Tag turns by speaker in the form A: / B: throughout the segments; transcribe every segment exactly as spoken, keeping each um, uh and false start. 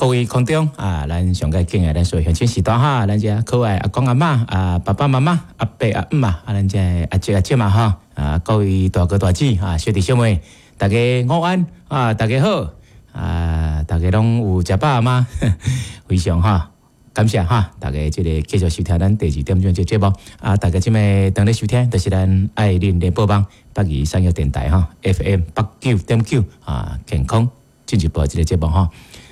A: 各位空中啊，咱上蓋敬愛咱所有鄉親序大哈，咱遮可愛阿公阿嬤啊，爸爸媽媽阿伯阿姆啊，咱遮阿叔阿姐嘛哈，啊，各位大哥大姐啊，小弟小妹，大家午安啊，大家好啊，大家攏有食飽嗎？非常哈。感謝哈，大家這个繼續收聽咱第二點鐘這節目啊！大家這擺當咧收聽，就是咱愛鄰聯播網北宜產業電台哈 F M 八九點九啊，健康進一步這个節目哈。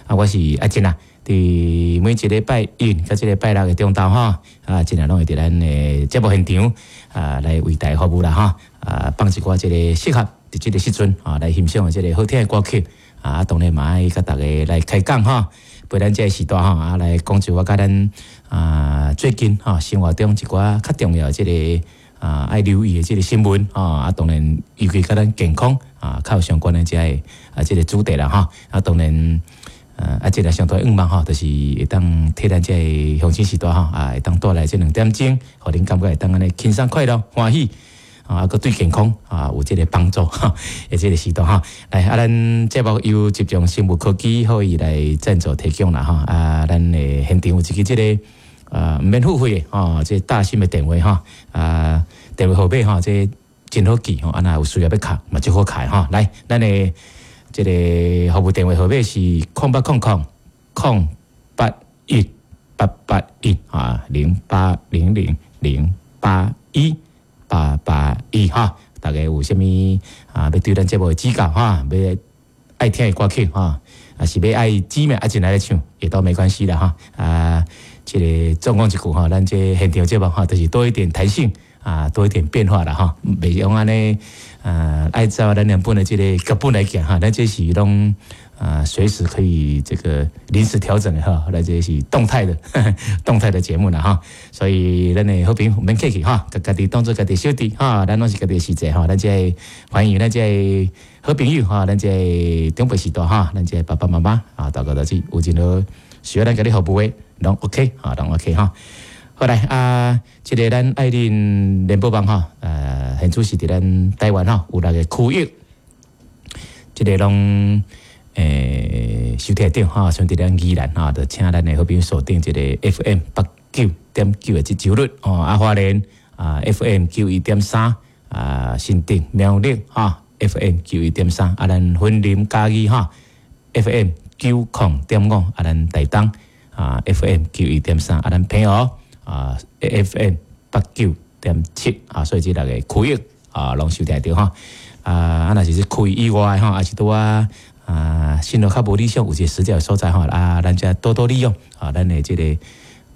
A: 啊，我是阿珍啊，佇每一禮拜一佮這个拜六的中晝哈，啊，盡量攏會佇咱的節目現場啊，來為大家服務啦哈。啊，放一寡這个適合佇這个時陣啊來欣賞的這个好聽的歌曲啊，當然嘛愛佮大家來開講哈。陪咱這个時段吼啊，來講一寡佮咱啊最近吼生活中一寡較重要的這个啊愛留意的這个新聞啊，當然尤其佮咱健康啊較有相關的這个啊這个主題啦吼啊，當然啊這个上大願望吼，就是會當替咱這个鄉親序大吼啊，會當帶來這兩點鐘，予恁感覺會當按呢輕鬆快樂歡喜。啊，閣對健康啊有這个幫助哈，的這个時段哈。來，啊，咱節目由集中生物科技予伊來贊助提供啦哈。啊，咱的現場有一支這个啊，毋免付費的吼，這個大新的電話哈，啊，電話號碼吼，這個真好記吼，啊，若有需要欲敲嘛，足好敲吼。來，咱的這个服務電話號碼是空八空空空八一八八一啊，零八零零零八一。八八一哈，大家有啥物啊？欲對咱節目的指教哈，欲愛聽的歌曲哈，啊是欲愛姊妹阿進來咧唱，也都沒關係啦哈。啊，這个總講一句哈，咱這現場節目哈，就是多一點彈性啊，多一點變化啦哈，袂用按呢啊，按照咱原本的這个腳本來行哈，咱這是攏啊隨時可以這个臨時調整的哈，咱這是動態的動態的節目啦哈，所以咱的好朋友毋免客氣哈，共家己當做家己小弟哈，咱攏是家己的序細哈，咱這歡迎咱這好朋友哈，咱這長輩序大哈，咱這爸爸媽媽啊，大哥大姐有任何需要咱共你服務的，攏 OK 哈，攏 OK 哈。好來啊，這个咱愛鄰聯播網哈，呃，現主是佇咱台灣吼有六个區域，這个攏欸收聽著哈，像佇咱宜蘭哈，就請咱的好朋友鎖定這个 F M 八九點九的這周日哦，啊花蓮啊 F M 九一點三啊，新竹苗栗哈 F M 九一點三啊，咱雲林嘉義哈 F M 九空點五啊，咱台東啊 F M 九一點三啊，咱澎湖啊，F M 八九點七啊，所以這六个區域啊，攏收聽著哈。啊，啊，若是這區域以外吼，抑是拄啊啊，信號較無理想，有一個死角所在吼啊，咱遮多多利用啊，咱的這个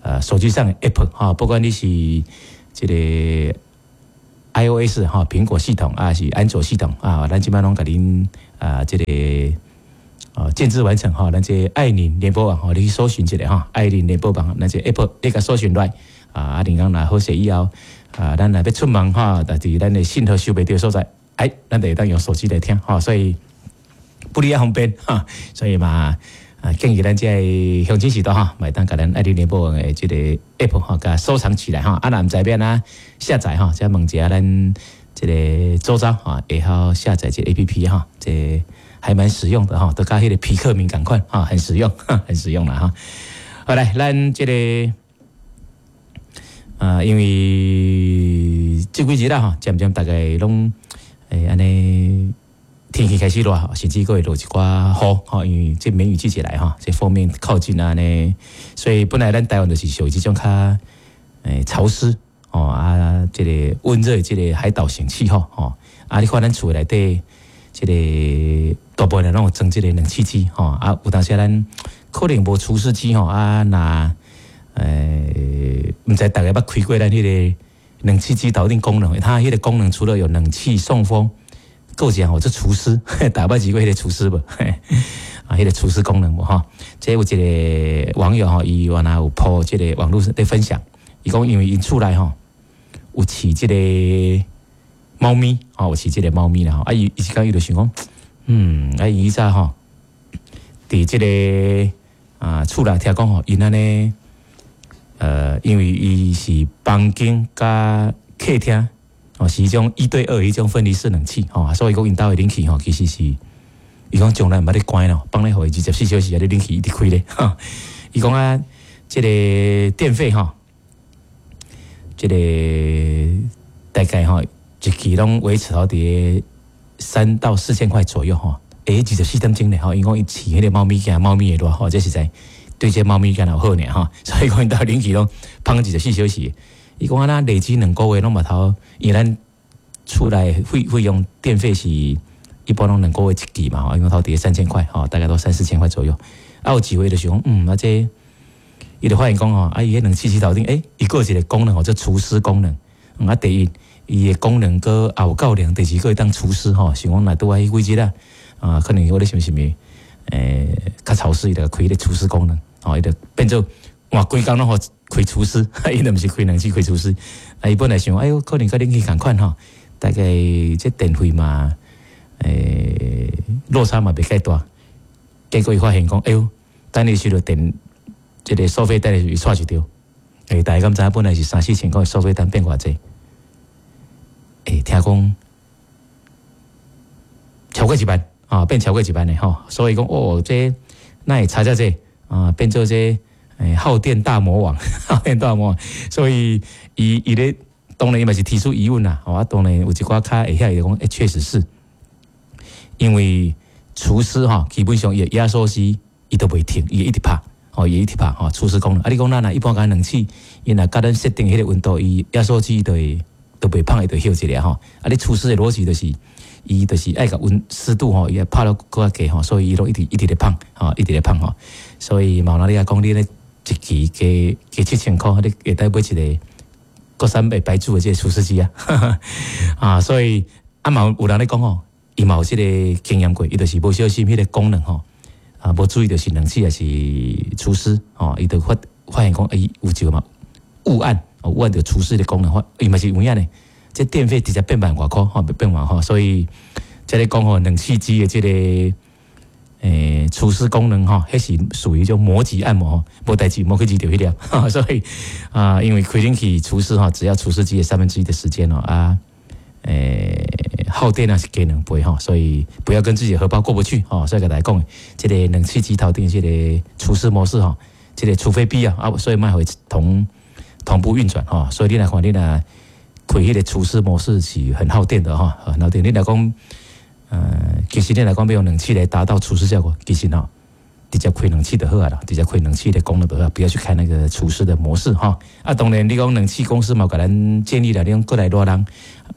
A: 呃手機上的 App 哈，不管你是這个 iOS 哈蘋果系統啊，是安卓系統啊，咱這擺攏共恁啊這个啊建置完成哈，咱這愛鄰聯播網吼，你去搜尋一下哈，愛鄰聯播網，咱這 App 你共搜尋來啊，啊，恁講若好勢以後啊，咱若欲出門哈，但是咱的信號收袂著所在，哎，咱就會當用手機來聽哈，所以不離也方便哈，所以嘛啊，建議咱這個鄉親序大哈，嘛會當共咱愛鄰聯播網的這个 App 哈，共收藏起來哈，啊，若毋知欲按怎下載哈，再問一下咱這个周遭哈，會曉下載這個 A P P 哈，這還蠻實用的哈，都佮彼个皮克敏仝款哈，很實用，很實用啦哈。好來，咱這个啊，因為這幾日啦吼，漸漸大家攏會按呢天氣開始熱，甚至閣會落一寡雨吼，因為這梅雨季節來吼，這鋒面靠近啊呢，所以本來咱台灣就是屬於這種較欸潮濕哦啊，這个溫熱這个海島型氣候吼啊，你看咱厝內底這个大部分人攏有裝這个冷氣機吼啊，有當時咱可能無除濕機吼啊，若欸毋知大家捌開過咱彼个冷氣機頭頂功能，它彼个功能除了有冷氣送風，閣有一項吼做除濕，大家捌試過彼个除濕無？啊，彼个除濕功能無吼？這有一个網友吼，伊原來有 po 這个網路咧分享，伊講因為𪜶厝內吼有飼這个貓咪，吼有飼這个貓咪啦吼，啊伊伊一工伊就想講，嗯，啊伊以前吼，佇這个啊厝內聽講吼，𪜶按呢，呃，因為伊是房間佮客廳哦，是彼種一對二彼種分離式冷氣吼，所以講𪜶兜的冷氣吼，其實是伊講從來毋捌咧關咯，放咧予伊二十四小時啊，咧冷氣一直開咧。伊講啊，這個電費吼，這個大概吼一期攏維持佇三到四千塊左右吼。欸，二十四點鐘咧吼，伊講伊飼彼個貓咪驚貓咪會熱吼，這實在對這貓咪敢若有好爾吼，所以講𪜶兜冷氣攏放二十四小時。伊講啊，若累積兩個月攏嘛頭，因為咱厝內費費用電費是一般攏兩個月一期嘛吼，因為頭佇三千塊吼，大概都三四千塊左右。啊，有一回就是講，嗯，啊這伊就發現講吼，啊伊彼冷氣機頭頂，欸，伊閣有一個功能吼，叫除濕功能。嗯，啊，第一，伊的功能閣也有夠涼，第二閣會當除濕吼，想講若拄愛幾日啦，啊，可能我咧想啥物，欸，較潮濕，伊就開彼個除濕功能，吼，伊就變做換規工攏予開除濕，伊就毋是開冷氣開除濕。啊，伊本來想，哎喲，可能佮冷氣仝款吼，大概這電費嘛，欸，落差嘛袂介大。結果伊發現講，哎喲，等伊收到電，這個收費單的時，伊掣一著。欸，大家敢知影本來是三四千塊收費單變偌濟？欸，聽講超過一萬啊，變超過一萬的吼。所以講，哦，這哪會差遮濟啊？變做這欸耗電大魔王，耗電大魔王。所以伊伊咧當然伊嘛是提出疑問啦。啊，當然有一寡較會曉的講，欸，確實是，因為除濕吼，基本上伊的壓縮機伊都袂停，伊會一直拍，吼，伊會一直拍吼，除濕功能。啊，你講咱若一般共冷氣，伊若共咱設定彼個溫度，伊壓縮機就會都袂放，伊就歇一下吼。啊，你除濕的邏輯就是，伊就是愛共溫濕度吼，伊會拍到閣較低吼，所以伊攏一直一直咧放，吼，一直咧放吼。所以嘛有你講，你咧一期加加七千箍，你會當買一個國產的牌子的這個除濕機啊。啊，所以啊嘛有人咧講吼，伊嘛有這個經驗過，伊就是無小心彼個功能吼，啊，無注意就是冷氣抑是除濕吼，伊就發發現講，欸，有一個嘛誤按，誤按著除濕的功能，伊嘛是有影呢。這電費直接變萬外箍，吼，變萬吼，所以這咧講吼，冷氣機的這個欸除濕功能吼，彼是屬於一種魔級按摩，無代誌，莫去試著彼粒，所以啊，因為開冷氣除濕吼，只要除濕機的三分之一的時間哦，啊，欸，耗電啊是加兩倍吼，所以不要跟自己荷包過不去吼，所以共大家講，這個冷氣機頭頂這個除濕模式吼，這個除非必要啊，所以莫予伊同同步運轉吼，所以你來看你若開彼個除濕模式是很耗電的吼，很耗電。你若講，呃，其實你若講欲用冷氣來達到除濕效果，其實吼，直接開冷氣就好啊啦，直接開冷氣的功能就好，不要去開那個除濕的模式吼。啊，當然你講冷氣公司嘛，共咱建議啦，你講過來熱人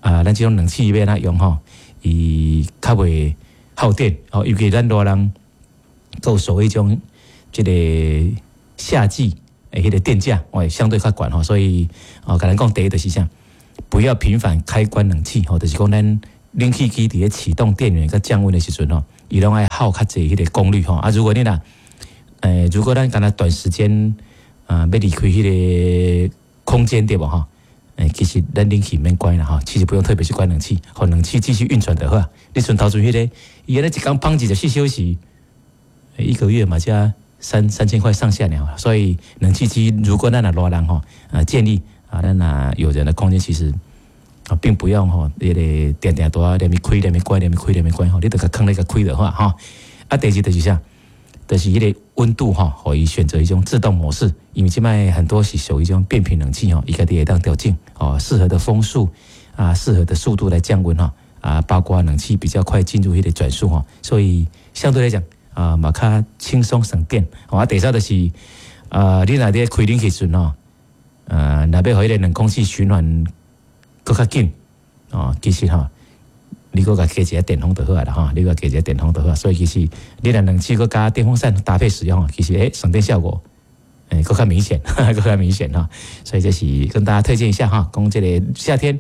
A: 啊，咱這種冷氣欲按怎用吼，伊較袂耗電哦，尤其咱熱人，閣有所謂種這個夏季的彼個電價，哦，相對較懸吼，所以哦，共咱講第一就是啥，不要頻繁開關冷氣吼，就是講咱冷氣機佇咧啟動電源佮降溫的時陣吼，伊攏愛耗較濟彼個功率吼。啊，如果你若，欸，如果咱干焦短時間啊，欲離開彼個空間對無吼？欸，其實咱冷氣免關啦吼，其實不用特別去關冷氣，予冷氣繼續運轉就好。你像頭前彼個，伊按呢一工放二十四小時，一個月嘛才三三千塊上下爾。所以冷氣機如果咱若熱人吼，啊建議啊，咱若有人的空間其實啊，並不用吼，彼個定定都連續開連續關連續開連續關吼，你著共囥咧共開就好吼。啊，第二就是啥？就是彼個溫度吼，予伊選擇一種自動模式，因為這擺很多是屬於這種變頻冷氣吼，伊家己會當調整哦，適合的風速啊，適合的速度來降溫吼，啊，包括冷氣比較快進入彼個轉速吼，所以相對來講啊，嘛較輕鬆省電。啊，第三就是啊，你若佇開冷氣時陣吼，啊，若欲予彼個冷空氣循環閣較緊哦，其實吼，你閣共加一個電風就好啊啦吼，你閣加一個電風就好，所以其實你若冷氣閣加電風扇搭配使用，其實欸省電效果欸閣較明顯，閣較明顯哈。所以這是跟大家推薦一下哈，講這個夏天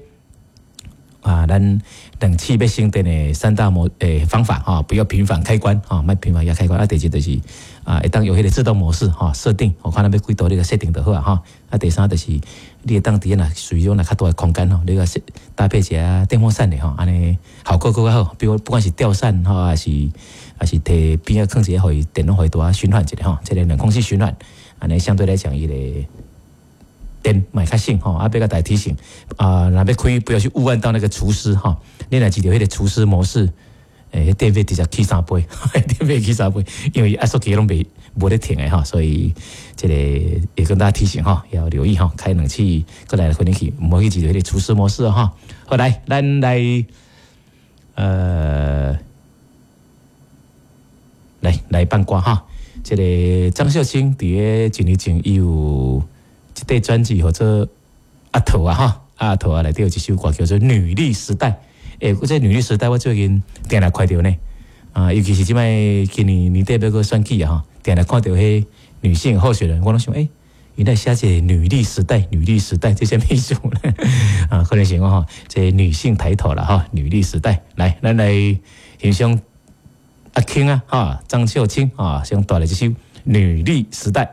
A: 啊，咱冷氣欲省電的三大模欸方法哈，不要頻繁開關哈，莫頻繁共開關。啊，第二就是啊，會當用彼個自動模式哈設定，我看咱欲幾度你共設定就好啊哈。啊，第三就是你會當佇若屬於種若較大的空間吼，你共設搭配一下電風扇的吼，按呢效果閣較好。比如不管是吊扇吼，抑是抑是佇邊仔囥一个，予伊電攏予伊拄仔循環一下吼，這個冷空氣循環，按呢相對來講伊個電嘛會較省吼。啊，欲共大家提醒啊，若欲開不要去誤按到那個除濕吼，你若記著彼個除濕模式，欸，電費直接起三倍，電費起三倍，因為壓縮機攏袂無咧停的吼，所以這个也跟大家提醒吼，要留意吼，開冷氣閣來開冷氣，毋好去一個廚師模式吼。好來，咱來，呃，來來放歌哈。這个張秀卿佇咧一年前，伊有一塊專輯，號做阿桃啊吼，阿桃啊內底有一首歌叫做《女力時代》。欸，這女力時代我最近定定看著呢，啊，尤其是這擺今年年底欲閣選舉啊吼，定定看著彼女性候選人，我攏想，欸，原來寫這个女力時代，女力時代這啥物意思呢？啊，可能是講吼，這女性抬頭啦吼，女力時代，來，咱來欣賞阿卿啊，哈，張秀卿啊，先帶來這首《女力時代》。